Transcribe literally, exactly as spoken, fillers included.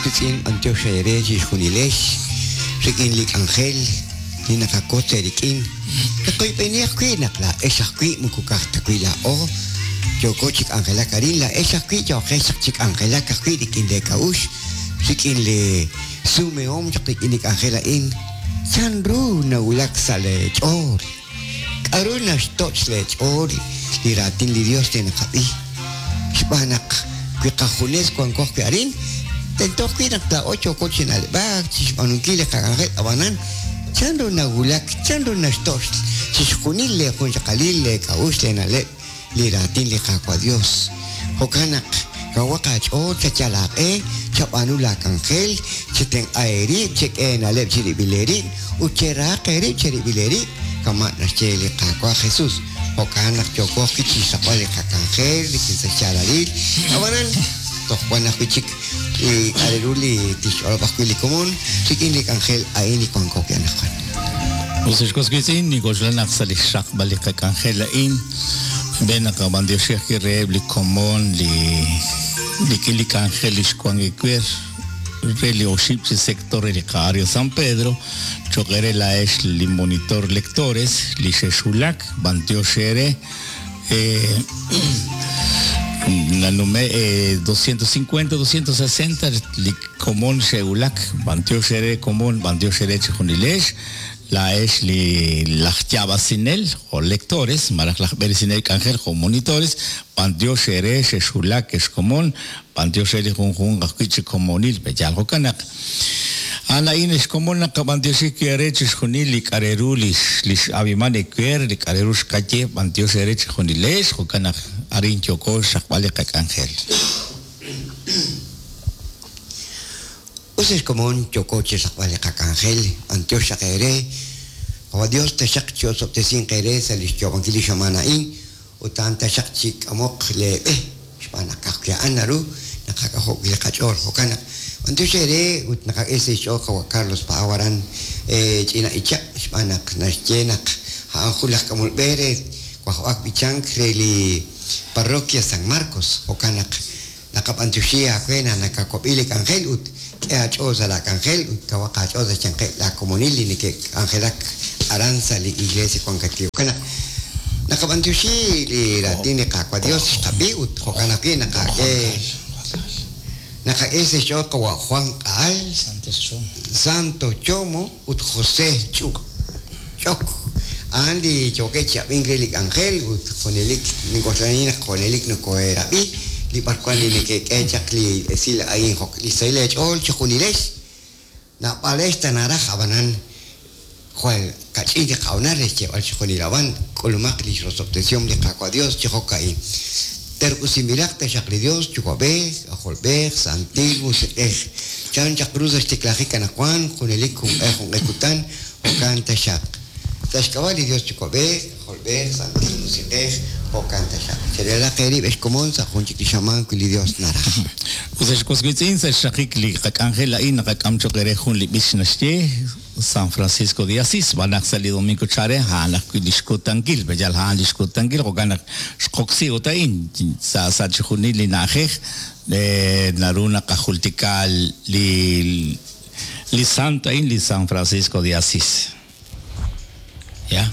Qitz'in b'antiox eere chixjunilex rik'in li k'anjel li naqakotz eerik'in. Naqoyb'eni ajwi' naq laa'ex ajwi' moko ka'aj ta wi' laa'o yooko chi k'anjelak arin, laa'ex ajwi' yooqex chaq chi k'anjelak ajwi' rik'in lee k'a'uxl, rik'in li sumehom chaq rik'in li k'anjel a'in. Chanru nawulak sa' lee ch'ool? K'a'ru naxtoch' lee ch'ool li raatin li Dios li naqab'i? Xb'aan naq wi qajunes wanko ajwi' arin, tento ajwi' naq laa'o yooko chi na'leb'ak, chixb'aanunkil li qak'anjel, ab'anan chanru nawulak, chanru naxtoch' chixjunil lee junxaqalil, lee k'a'uxl, lee na'leb' li raatin li Qaawa' Dios. Jo'kan naq kawaq aach'ool, chayal aaq'e, chab'aanu laak'anjel, chetenq'a eerib', chek'e eena'leb' chirib'il eerib', ut cherahaq eerib' cherib'il eerib', kama' naxye li Qaawa' Jesus. Jo'kan naq yooko ajwi' chixraqb'al li qak'anjel rik'in sa' xyaalalil. Ab'anan toj wan ajwi' chik li k'a' re ru li tixch'olob' ajwi' li komon rik'in li k'anjel a'in li wanko wi' anaqwan. Us ex was wiitz'in, nink'oxla naq sa' li xraqb'al li qak'anjel a'in, ven naqab'antioxi ajwi' reheb' li komon li rik'in li k'anjel li xwan ewer re li oxib' chi sector re li qa-área San Pedro, cho'q ere laa'ex li monitor lectores li xexwulak, b'antiox eere, eh, nanume eh, doscientos cincuenta, doscientos sesenta li komon xe'wulak, b'antiox eere komon, b'antiox eere chijunilex, laa'ex li laj yaab'asinel jo' lectores, malaj laj b'eresinel k'anjel jo' monitores, b'antiox eere xexwulak ex komon, b'antiox eere li junjunq ajwi' chi komonil, b'eyal jo'kan naq a'an a'in ex komon naqab'antioxi eere chixjunil li k'a' re ru lix, lix abiman ewer, li k'a' re ru xqaye, b'antiox eere chijunilex, jo'kan naq arin yooko xraqb'al li qak'anjel. Us ex komon yooko chi xraqb'al li qak'anjel, b'antiox xaq eere, Qawa Dios taxaq chi osob'tesinq eere sa' li xyoob'ankil li xamaan a'in, ut a'an taxaq chi k'amoq leeb'e, xb'aan naq ka'ajwi' a'an naru naqak'ajo'k li qach'ool. Jo'kan naq b'antiox eere ut naqak'e sa' xch'ool Qawa Carlos Paau aran, eh, ch'ina icha', xb'aan naq naxye naq a'an jun laj k'amol b'e re wajb'ak b'ichank re li parroquia San Marcos. Jo'kan naq naqab'antioxi aawe naq nakakob'i li k'anjel ut k'e aach'ool sa' laak'anjel ut kawaq aach'ool sa' xyanqeb' laakomonil li neke'k'anjelak aran sa' li iglesia wankat wi'. Jo'kan naq naqab'antioxi li raatin li Qaawa' Dios xqab'i ut jo'kan ajwi' naqak'e naqak'e sa' xch'ool Qawa' Juan Q'aal, Santos Chomo, Santo Chomo ut José Ch'uk Ch'ok. A'an li yookeb' chi ab'ink re li k'anjel ut junelik nink'oxlani naq junelik nokoheerab'i li b'arwan li neke'k'e chaq li esil a'in jo' li sahil eech'ool chi junilex. Naab'alex ta naraj ab'anan jwal kach'in li qa'onar re xyeeb'al chi junil ab'an k'ulumaq li xrosob'tesihom li Qaawa' Dios chi jo'ka'in. Terq'usinb'ilaq taxaq li Dios Yuwa'b'ej, Ajolb'ej, Santil Musiq'ej. Chan chaq ru sa' xtiklajik anaqwan, junelik junq'e junq'e kutan, jo'kan taxaq. Sa' xk'ab'a' li Dios Yuwa'b'ej, Ajolb'ej, Santil Musiq'ej, jo'kan taxaq. Chereeraq eerib' ex komon sa' jun chik li xamaan wi' li Dios naraj. Us ex was wiitz'in, sa' xraqik li qak'anjel a'in naqak'am cho'q eere jun li b'ich naxye San Francisco de Asís, b'anaq sa' li domingo chare, a'an ajwi' li xkutankil, b'eyal a'an li xkutankil, jo'kan naq xqoksi ut a'in sa' sa' chixjunil li na'ajej, eh, naru naqajultika li, li santo a'in, li San Francisco de Asís. ¿Ya?